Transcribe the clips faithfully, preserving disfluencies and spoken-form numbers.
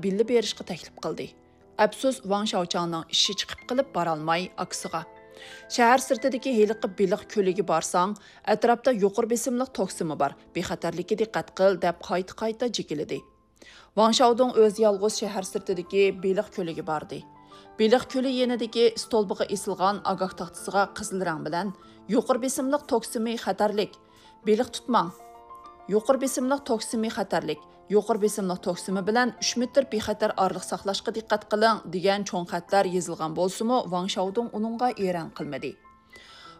بىللە بېرىشقا تەكلىپ قىلدى. ئەپسۇس، ۋاڭ شاۋچاڭنىڭ ئىشى چىقىپ قېلىپ بارالماي ئاكىسىغا، «شەھەر سىرتىدىكى ھېلىقى بېلىق كۆلىگە بارساڭ، ئەتراپتا يۇقىرى بېسىملىق توكسىمى بار، بىخەتەرلىككە دىققەت قىل» دەپ قايتا-قايتا جېكىلىدى. ۋاڭ شاۋدۇڭ ئۆزى يالغۇز شەھەر سىرتىدىكى بېلىق كۆلىگە باردى. بېلىق كۆلى يېنىدىكى ستولبىغا ئېسىلغان ئاگاھ تاختىسىغا قىزىل رەڭ بىلەن، «يۇقىرى بېسىملىق توكسىمى خەتەرلىك، بېلىق تۇتماڭ! يۇقىرى بېسىملىق توكسىمى خەتەرلىك، يۇقىرى بېسىملىق توكسىمى بىلەن ئۈچ مېتىر بىخەتەر ئارىلىق ساقلاشقا دىققەت قىلىڭ» دېگەن چوڭ خەتلەر يېزىلغان بولسىمۇ، ۋاڭ شاۋدۇڭ ئۇنىڭغا ئېرەن قىلمىدى.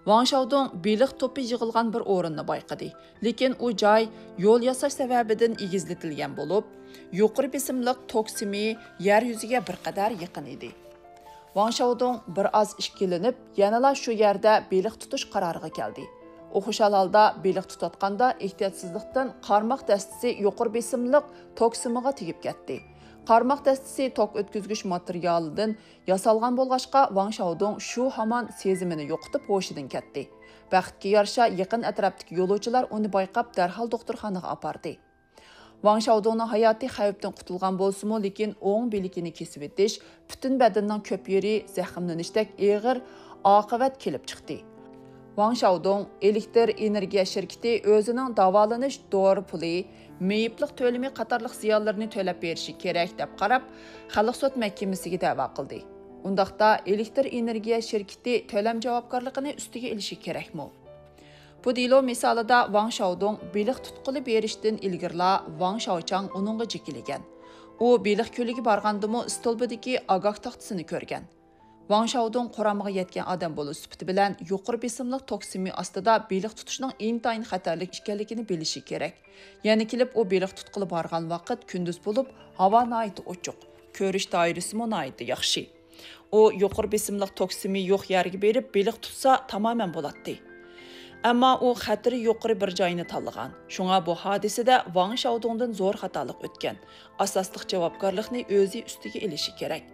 ۋاڭ شاۋدۇڭ بېلىق توپى يىغىلغان بىر ئورۇننى بايقىدى، لېكىن ئۇ جاي يول ياساش سەۋەبىدىن ئېگىزلىتىلگەن بولۇپ، يۇقىرى بېسىملىق توكسىمى يەر يۈزىگە بىر قەدەر يېقىن ئىدى. ۋاڭ شاۋدۇڭ بىر ئاز ئىككىلىنىپ، يەنىلا شۇ يەردە بېلىق تۇتۇش قارارىغا كەلدى. ئۇ خۇشال ھالدا بېلىق تۇتۇۋاتقاندا، ئېھتىياتسىزلىقتىن قارماق دەستىسى يۇقىرى بېسىملىق توكسىمىغا تېگىپ كەتتى. قارماق دەستىسى توك ئۆتكۈزگۈچ ماتېرىيالىدىن ياسالغان بولغاچقا، ۋاڭ شاۋدۇڭ شۇ ھامان سېزىمىنى يوقىتىپ ھوشىدىن كەتتى. بەختكە يارىشا، يېقىن ئەتراپتىكى يولۇچىلار ئۇنى بايقاپ، دەرھال دوختۇرخانىغا ئاپاردى. ۋاڭ شاۋدۇڭنىڭ ھاياتى خەۋپتىن قۇتۇلغان بولسىمۇ، لېكىن ئوڭ بىلىكىنى كېسىۋېتىش، پۈتۈن بەدىنىنىڭ كۆپ يېرى زەخىملىنىشتەك ئېغىر ئاقىۋەت كېلىپ چىقتى. ۋاڭ شاۋدۇڭ ئېلېكتر ئېنېرگىيە شىركىتى ئۆزىنىڭ داۋالىنىش دورا پۇلى، مېيىپلىق تۆلىمى قاتارلىق زىيانلىرىنى تۆلەپ بېرىشى كېرەك دەپ قاراپ، خەلق سوت مەھكىمىسىگە دەۋا قىلدى. ئۇنداقتا ئېلېكتر ئېنېرگىيە شىركىتى تۆلەم جاۋابكارلىقىنى ئۈستىگە ئېلىشى كېرەكمۇ؟ بۇ دېلو مىسالىدا ۋاڭ شاۋدۇڭ بېلىق تۇتقىلى بېرىشتىن ئىلگىرىلا ۋاڭ شاۋچاڭ ئۇنىڭغا جېكىلىگەن. ئۇ بېلىق كۆلىگە بارغاندىمۇ ستولبىدىكى ئاگاھ تاختىسىنى كۆرگەن. ۋاڭ شاۋدۇڭ قۇرامىغا يەتكەن ئادەم بولۇش سۈپىتى بىلەن يۇقىرى بېسىملىق توكسىمى ئاستىدا بېلىق تۇتۇشنىڭ ئىنتايىن خەتەرلىك ئىكەنلىكىنى بىلىشى كېرەك. يەنە كېلىپ ئۇ بېلىق تۇتقىلى بارغان ۋاقىت كۈندۈز بولۇپ، ھاۋا ناھايىتى ئوچۇق، كۆرۈش دائىرىسىمۇ ناھايىتى ياخشى. ئۇ يۇقىرى بېسىملىق توكسىمى يوق يەرگە بېرىپ بېلىق تۇتسا تامامەن بولاتتى. ئەمما ئۇ خەتىرى يۇقىرى بىر جاينى تاللىغان. شۇڭا بۇ ھادىسىدە ۋاڭ شاۋدۇڭدىن زور خاتالىق ئۆتكەن. ئاساسلىق جاۋابكارلىقنى ئۆزى ئۈستىگە ئېلىشى كېرەك.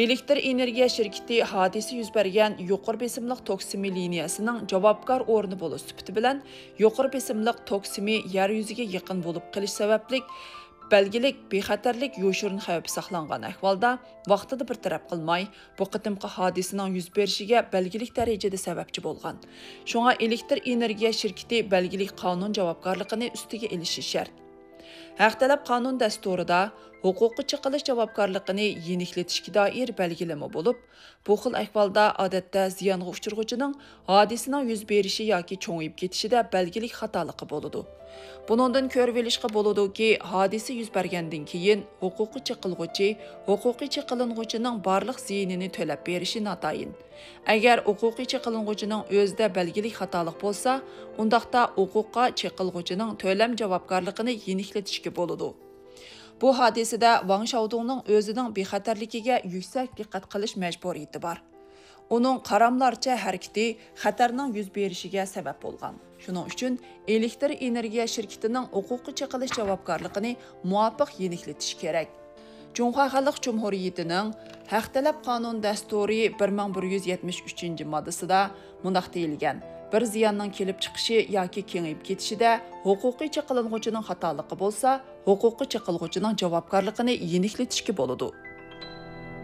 ئېلېكتر ئېنېرگىيە شىركىتى ھادىسە يۈز بەرگەن يۇقىرى بېسىملىق توكسىمى لىنىيەسىنىڭ جاۋابكار ئورنى بولۇش سۈپىتى بىلەن، يۇقىرى بېسىملىق توكسىمى يەر يۈزىگە يېقىن بولۇپ قېلىش سەۋەبلىك، بەلگىلىك بىخەتەرلىك يوشۇرۇن خەۋپى ساقلانغان ئەھۋالدا، ۋاقتىدا بىر تەرەپ قىلماي، بۇ قېتىمقى ھادىسىنىڭ يۈز بېرىشىگە بەلگىلىك دەرىجىدە سەۋەبچى بولغان. شۇڭا ئېلېكتر ئېنېرگىيە شىركىتى بەلگىلىك قانۇن جاۋابكارلىقىنى ئۈستىگە ئېلىشى شەرت. ھەق تەلەپ قانۇن دەستۇرىدا ھوقۇققا چېقىلىش جاۋابكارلىقىنى يېنىكلىتىشكە دائىر بەلگىلىمە بولۇپ، بۇ خىل ئەھۋالدا، ئادەتتە، زىيانغا ئۇچرىغۇچىنىڭ ھادىسىنىڭ يۈز بېرىشى ياكى چوڭىيىپ كېتىشىدە بەلگىلىك خاتالىقى بولىدۇ. بۇنىڭدىن كۆرۈۋېلىشقا بولىدۇكى، ھادىسە يۈز بەرگەندىن كېيىن ھوقۇققا چېقىلغۇچى ھوقۇقىي چېقىلىنغۇچىنىڭ بارلىق زىيىنىنى تۆلەپ بېرىشى ناتايىن. ئەگەر ھوقۇقىي چېقىلىنغۇچىنىڭ ئۆزىدە بەلگىلىك خاتالىق بولسا، ئۇنداقتا ھوقۇققا چېقىلغۇچىنىڭ تۆلەم جاۋابكارلىقىنى يېنىكلىتىشكە بولىدۇ. بۇ ھادىسىدە ۋاڭ شاۋدۇڭنىڭ ئۆزىنىڭ بىخەتەرلىكىگە يۈكسەك دىققەت قىلىش مەجبۇرىيىتى بار. ئۇنىڭ قاراملارچە ھەرىكىتى خەتەرنىڭ يۈز بېرىشىگە سەۋەب بولغان. شۇنىڭ ئۈچۈن ئېلېكتر ئېنېرگىيە شىركىتىنىڭ ھوقۇققا چېقىلىش جاۋابكارلىقىنى مۇۋاپىق يېنىكلىتىش كېرەك. جۇڭخۇا خەلق جۇمھۇرىيىتىنىڭ ھەق تەلەپ قانۇن دەستۇرى بىر مىڭ بىر يۈز يەتمىش ئۈچىنچى ماددىسىدا مۇنداق دېيىلگەن: بىر زىياننىڭ كېلىپ چىقىشى ياكى كېڭىيىپ كېتىشىدە ھوقۇقىي چېقىلىنغۇچىنىڭ خاتالىقى بولسا، ھوقۇققا چېقىلغۇچىنىڭ جاۋابكارلىقىنى يېنىكلىتىشكە بولىدۇ.